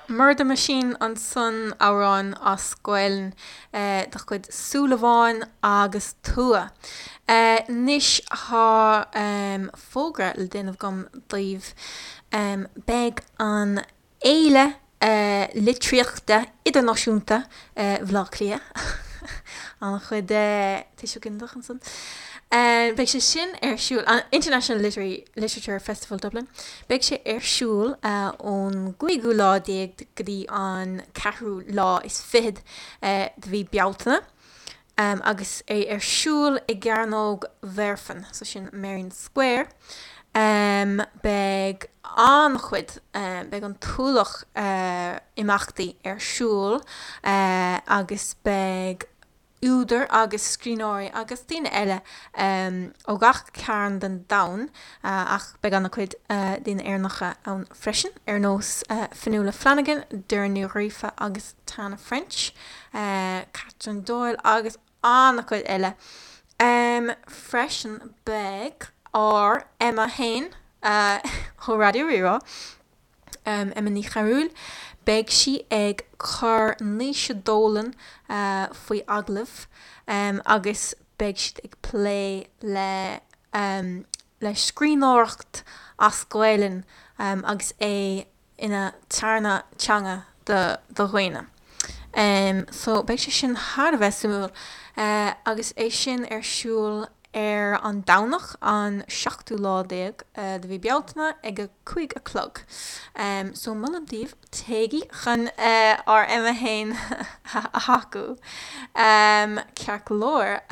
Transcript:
Murder Machine ansan, amhrán as Gaelainn de chuid Súilleabháin agus Tua. Anois tá fógra le déanamh agam daoibh. Beidh an Fhéile Litríochta Idirnáisiúnta Bhaile Átha Cliath, an-chuid tuiseal ginideach ansan, beidh sé sin ar siúl, International Literary Literature Festival Dublin, beidh sé ar siúl ón gcúigiú lá déag go dtí an ceathrú lá is fichead de mhí Bealtaine. Agus é ar siúl i gCearnóg Mhuirfean, so sin Merrion Square, beidh an-chuid, beidh an t-ualach imeachtaí ar siúl agus beidh údair agus scríbhneoirí agus daoine eile ó gach cearn den domhan ach beidh an-chuid daoine Éireannacha ann freisin, ar nós Fionnula Flanagan, Doireann Ní Ghríofa agus Tana French. Catherine Doyle agus an-chuid eile. Freisin beidh ár Emma fhéin ó Raidió Rí-Rá, Emma Ní Chearúil, beidh sí ag cur Naoise Dolan faoi agallamh agus beidh siad ag plé le le scríbhneoireacht as Gaelainn agus é ina tarna teanga do dhaoine. So beidh sé sin thar a bheith suimiúil agus é sin ar siúl ar an Domhnach an seachtú lá déag de mhí Bealtaine ag a 5 a chlog. So molaim daoibh téigí chun ár Emma fhéin a thacú. Ceart go leor.